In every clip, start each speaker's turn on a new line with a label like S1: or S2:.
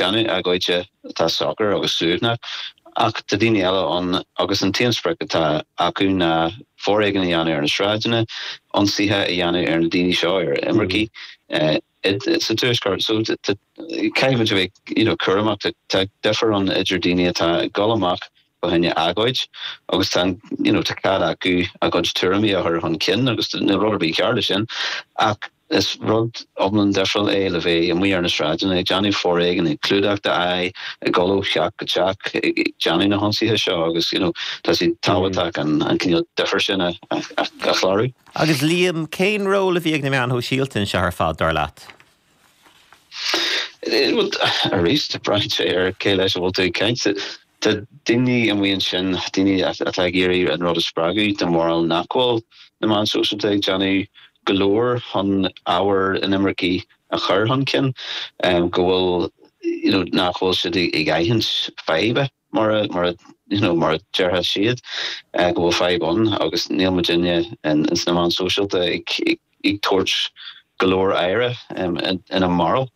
S1: déanamh agóide atá socair agus suaimhneach, ach tá daoine eile ann agus an t-aon sprioc atá acu ná foréigean a dhéanamh ar na sráideanna, ionsaithe a dhéanamh ar na daoine seo, ar imircigh sa Tuaisceart. So caithfidh muid a bheith you know cúramach, tá difear ann idir daoine atá ag dul amach fá choinne agóid agus tá you know tá cead acu a gcuid tuairimí a chur chun cinn agus níl rud ar bith cearr leis sin ach is rud iomlán difriúil é le bheith amuigh ar na sráideanna ag déanamh foréigin, ag clúdach d'aghaidh, ag dul ó theach go teach ag déanamh na hionsaithe seo agus you know tá sé tábhachtach an an cineál difear sin a a chlárú.
S2: Agus Liam, cén ról a bhí ag na meáin shóisialta anseo ar fad, dar leat?
S1: Arís, braitheann sé ar cé leis a bhfuil tú ag caint. Tá daoine amuigh ansin, daoine atá ag iarraidh an rud a spreagadh, den bharúil nach bhfuil na meáin shóisialta ag déanamh go leor chun ábhar inimircigh a chur chun cinn, go bhfuil, you know, nach bhfuil siad ag aithint faidhbe. Mar a, mar a, you know, mar a déarfadh siad, go bhfuil fadhb ann agus níl muidinne ins na meáin sóisialta ag, ag, ag tabhairt go leor aire, ina mbarúil,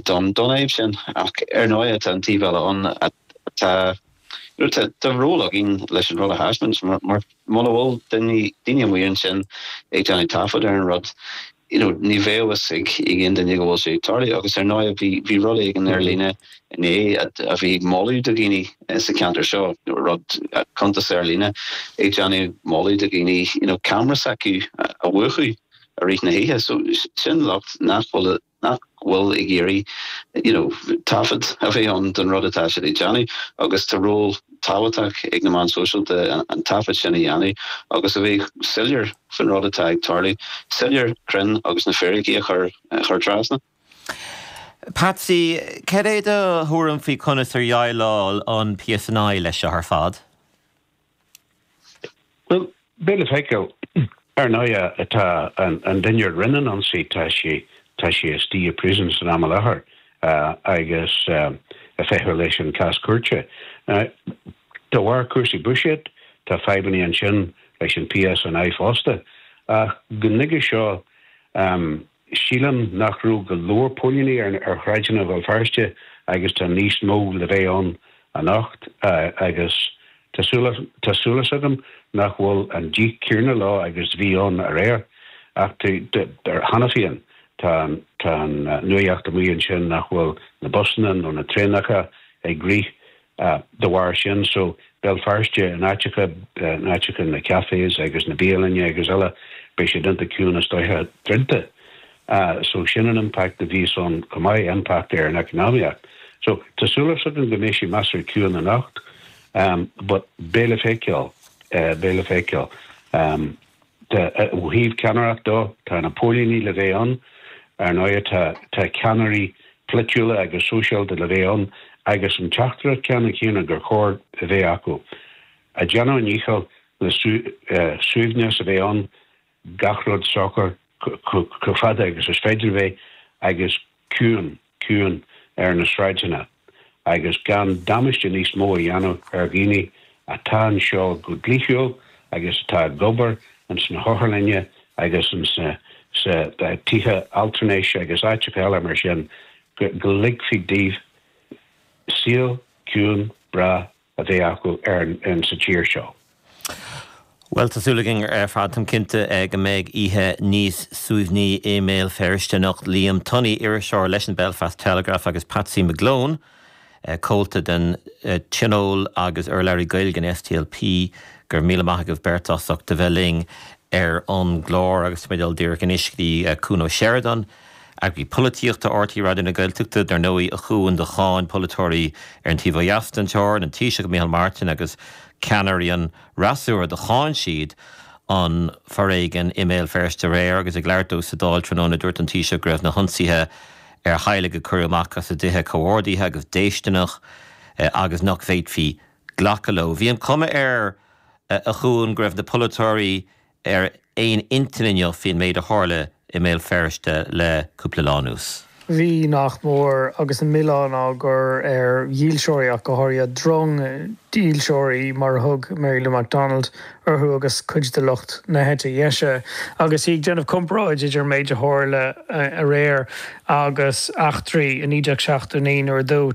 S1: don, don fhadhb sin. Ach ar ndóigh tá an taobh eile ann atá, you know, tá, tá ról againn leis an rud a thaispeáint mar, mar muna bhfuil daoine, daoine amuigh ansin ag déanamh taifead ar an rud, you know, ní bheadh fhios ag aon duine go bhfuil sé ag tarlú agus ar ndóigh bhí, bhí rud éigin ar líne inné a bhí ag moladh do dhaoine sa cheantar seo, rud, cuntas ar líne ag déanamh moladh do dhaoine, you know, ceamara s'acu a mhúchadh i rith na hoíche. So sin lucht nach bhfuil, nach bhfuil ag iarraidh, you know, taifead a bheith ann don rud atá siad ag déanamh agus tá ról tábhachtach ag na meáin sóisialta an taifead sin a dhéanamh agus a bheith soiléir faoin rud atá ag tarlú, soiléir, cruinn agus na fíricí a chur a chur trasna.
S2: Patsy, cad é do thuairim faoi conas ar dhéileáil an PSNI leis seo ar fad?
S3: Bhuel, beidh le feiceáil. Ar ndóigh, tá an duine a rinne an ionsaí, tá sé, tá sé istigh i prison san am i láthair agus ag feitheamh leis an cás cúirte. De bharr cúrsaí buiséid, tá fadhbanna ansin leis an PSNI fosta. Ach go nuige seo, sílim nach raibh go leor póilíní ar shráideanna Bhéal Feirste agus tá níos mó le bheith ann anocht agus tá súil agam nach bhfuil an díth céanna leo agus bhí ann aréir. Ach cheana féin tá an nuaíocht amuigh ansin nach bhfuil na busanna nó na traenacha ag rith de bharr sin. So, Béal Feirste, in áiteacha, in áiteacha na cafés agus na bialainne agus eile, beidh siad iontach ciúin is dóiche druidte. So, sin an impact a bhíos ann chomh maith, impact ar an eacnamaíocht. So, tá súil agam go mbeidh sé measartha ciúin anocht, but beidh le feiceáil, beidh le feiceáil. Ó thaobh ceannaireacht dó, tá na póilíní le bheith ann, ar ndóigh, tá tá ceannairí polaitiúla agus sóisialta le bheith ann agus an teachtaireacht ceannann céanna gur chóir a bheith acu. Ag déanamh a ndícheall le suaimhneas a bheith ann, gach rud socair chomh fada agus is féidir a bheith agus ciúin, ciúin ar na sráideanna agus gan damáiste níos mó a dhéanamh ar dhaoine atá anseo go dlíthiúil agus atá ag obair ins na hotharlainne agus ins na sa tithe altranais agus áiteacha eile mar sin, go go ligfí daoibh saol ciúin breá a bheith acu ar an sa tír seo.
S2: Bhuel, tá súil againn ar fad, táim cinnte, go mbeidh oíche níos suaimhní i mBéal Feirste anocht. Liam Tunney, iriseoir leis an Belfast Telegraph agus Patsy McGlone, comhalta den Tionól agus urlabhraí Gaeilge an SDLP, go raibh míle maith agaibh beirt as ucht a bheith linn ar an gclár agus tá mé ag dul díreach anois go dtí Cuan Ó Seireadáin. Eagraí Polaitíochta RTÉ Raidió na Gaeltachta, dar ndóigh, a Chuain, do cháin polaiteoirí ar an taobh ó dheas den teorainn, an Taoiseach Micheál Martin agus ceannairí an fhreasúra, do cháin siad an foréigean i mBéal Feirste aréir agus ag labhairt dó sa Dáil tráthnóna dúirt an Taoiseach go raibh na hionsaithe ar theaghlaigh a cuireadh amach as a dtithe comhordaithe agus déistineach agus nach bhféadfaí glacadh leo. Bhí an chuma air, a Chuain, go raibh na polaiteoirí ar aon intinn inniu faoin méid a tharla i mBéal Feirste le cúpla lá anuas.
S4: mhí nach mór agus an milleán á gcur ar dhílseoirí ach go háirithe drong dílseoirí mar a thug Mary Lou McDonald orthu agus cuid de lucht na heite dheise agus í ag déanamh comparáid idir an méid a tharla aréir agus eachtraí i 1979 nuair a dúirt.